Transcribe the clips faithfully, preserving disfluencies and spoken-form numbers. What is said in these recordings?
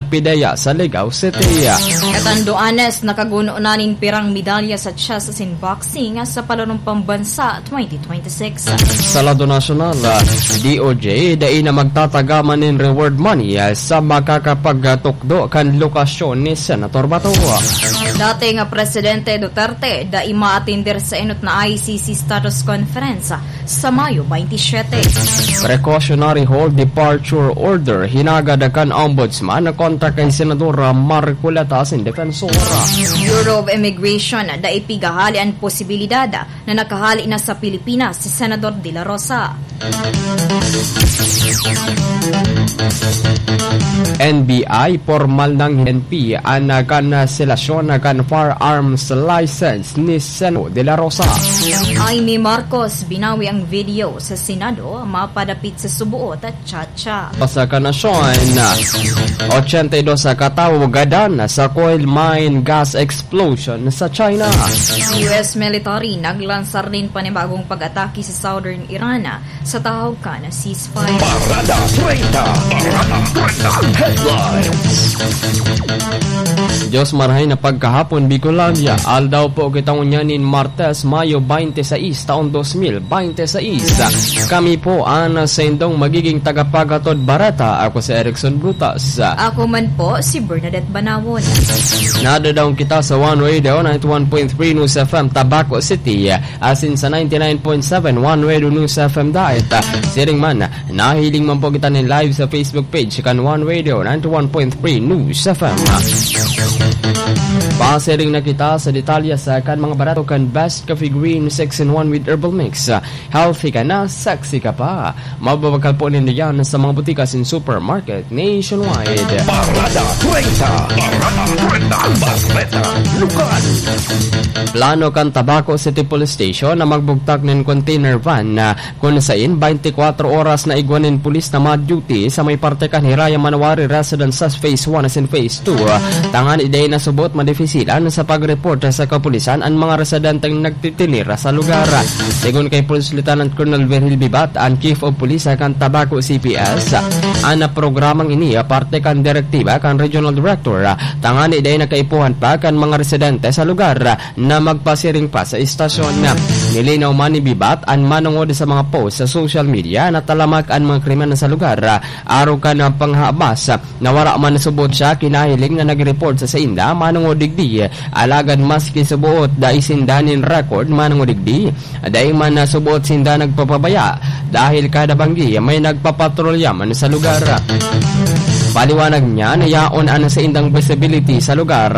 Pidaya sa Ligao City. Catanduanes nakaguno na nin pirang medalya sa chess asin boxing sa Palarong Pambansa twenty twenty-six. Sa lado nasyonal, D O J dai na magtatagaman nin reward money sa makakapagtukdo kan lokasyon ni Senator Bato. Dating Presidente Duterte dai maatender sa enot na I C C status conference sa Mayo twenty-seven. Precautionary hold departure order hinagad kan Ombudsman kontra kay Senadora Marcoleta asin Defensor. Bureau of Immigration, dai pigahali an posibilidad na nakahali na sa Pilipinas si Senador De La Rosa. N B I, pormal nang N P an kanselasyon kan firearms license ni Seno De La Rosa. Imee Marcos, binawi ang video sa Senado, mapadapit sa suboot at chacha. Sa kanasyon, ochenta y dos katawo gadan sa coal mine gas explosion sa China. U S military naglansar nin panibagong pag-atake sa southern Iran sa tahog kan ceasefire. Parada treinta. Parada treinta. Headlines. Diyos marahay na pagkahapon, Bicolandia. Aldaw po kita ngunyan nin Martes, Mayo twenty-six, taon dos mil twenty-six. Kami po ang saindong magiging tagapaghatod bareta. Ako si Erickson Brutas. Ako man po, si Bernadette Banawon. Nadadaong kita sa One Radio ninety-one point three News F M Tabaco City, asin sa ninety-nine point seven One Radio News F M Daet. Siring man, nahiling man po kita nin live sa Facebook page kan One Radio ninety-one point three News F M. Pasiring na kita sa detalye sa kan mga barato kan Best Coffee Green six in one with Herbal Mix. Healthy ka na, sexy ka pa. Mababakal po ninyo yan sa mga butika asin supermarket nationwide. Parada treinta. Parada treinta. Bareta. Lokal. Plano kan Tabaco City Police Station na magbugtak nin container van na kun sain twenty-four oras na igwa nin pulis na ma-duty sa may parte kan Hiraya Manawari Residence sa Phase one asin Phase two. Tangan idai na subot madifisilan sa pag-report sa kapulisan an mga residenteng nagtitinira sa lugar. Segun kay Police Lieutenant Colonel Virgil Bibat, an Chief of Police kan Tabaco C P S, an programang ini parte kan direktiba kan Regional Director, tangan idai na kaipuhan pa kan mga residente sa lugar na magpasiring pa sa istasyon. Nilinaw man ni Bibat an manongod sa mga post sa social media na talamak an mga krimen sa lugar, arog kan panghabas na wara man subot siya kinahiling na nag-report sa sainda manongod digdi. Alagad maski subot, dai sinda nin record manongod digdi. Dai man na subot sinda nagpapabaya, dahil kada banggi may nagpapatrolya man sa lugar. Paliwanag niya na yaon an saindang visibility sa lugar,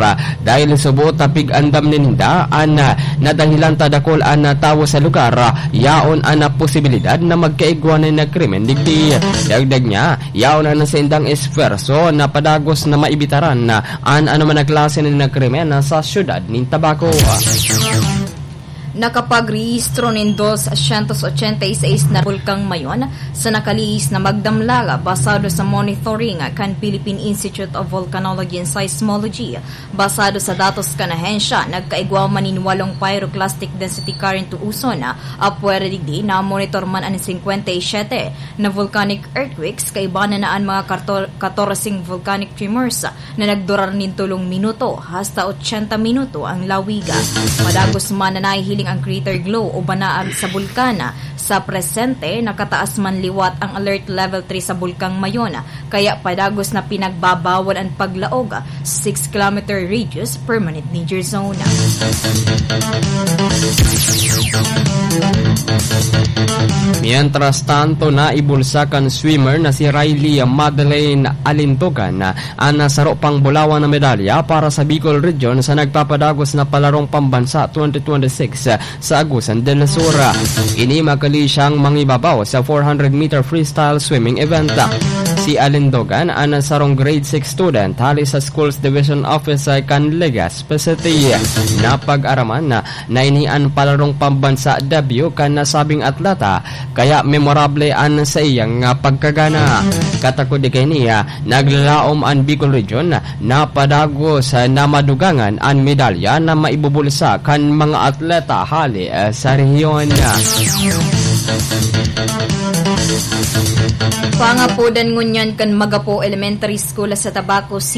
dahil subot ta pig-andam ninda an nadahilan ta dakul an tawo sa lugar, yaon an posibilidad na magkaigwa na nagkrimen digdi. Dagdag niya, yaon an saindang esfuerso na padagos na maibitaran an anoman na klase na nagkrimen sa siyudad nin Tabaco. Nakapagrehistro nin dos syentos ochenta y seis na bulkang mayon sa nakalihis na magdamlag, basado sa monitoring kan Philippine Institute of Volcanology and Seismology. Basado sa datos kan ahensya, nagkaigwa man nin walong pyroclastic density current o uson. Apwera digdi, namonitor man an singkwenta y siyete na volcanic earthquakes, kaiba na na an mga karto-, katorseng volcanic tremors na nagdurar nin tolong minuto hasta ochenta minuto ang lawig. Padagos man na nahihiling ang crater glow o banaag sa bulkan. Sa presente, nakataas man liwat ang alert level three sa Bulkang Mayon, kaya padagos na pinagbabawal an paglaog sa six kilometer radius permanent danger zone. Mientras tanto, naibulsa kan swimmer na si Riley Madeleine Alintogan an saro pang bulawan na medalya para sa Bicol Region sa nagpapadagos na Palarong Pambansa twenty twenty-six sa Agusan del Sur. Ini makali siyang mangibabaw sa four hundred meter freestyle swimming event. Si Alindogan, an sarong grade six student hali sa Schools Division Office kan Legazpi City. Napag-araman na, na ini an Palarong Pambansa debut kan nasabing atleta, kaya memorable an saiyang, ah, pagkagana. Katakod di kaini, ah, naglalaom an Bicol Region na padagos na madugangan an medalya na maibubulsa kan mga atleta hali, eh, sa rehiyon. Pangapodan ngunyan kan Magapo Elementary School sa Tabaco City